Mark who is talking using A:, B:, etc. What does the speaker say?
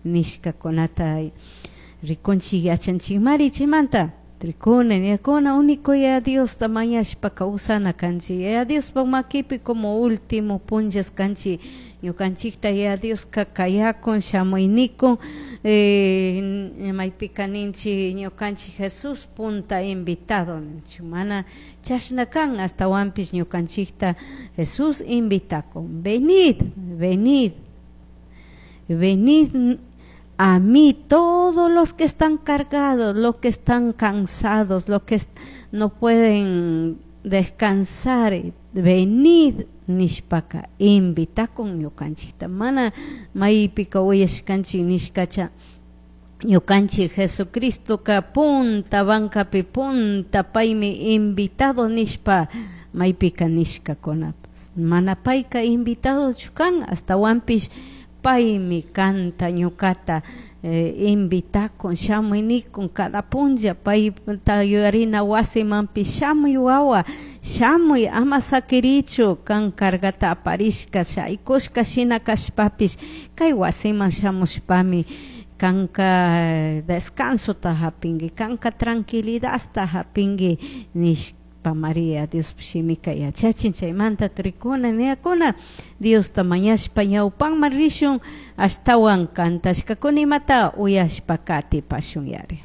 A: Nishkakunata rikunchik yachanchikmari chaymanta trikuna niyakuna único Yaya Diosta mañashpa kawsana kanchik. Yaya Diospaj makipi como último punllas kanchik. Ñukanchikta Yaya Dioska kayakun shamuynikun maypika ninchik ñukanchik Jesús punta invitado ninchik. Mana chashna kan astawanpish ñukanchikta Jesús invitakun. Venid, venid, venid a mí todos los que están cargados, los que están cansados, los que no pueden descansar, venid nishpaka invitakun ñukanchikta. Mana maypika uyashkanchik nishkacha ñukanchik Jesucristoka punta bancapi punta paymi invitado nishpa maypika nishkakunapas. Mana payka invitadochu kan, astawanpish paymi kanta ñukata invitakun shamuy nikun cada punlla payta yuyarina wasimanpish shamuy wawa shamuy ama sakirichu kan cargata aparishka shaykushka shina kashpapish kay wasiman shamushpami kanka descansota hapinki kanka tranquilidadta hapinki nishpa María Dios shimika yachachin. Chaymanta turikuna niyakuna Diosta mañashpa ñawpanman rishun ashtawan kantashkakuna imata uyashpa katipashun yari.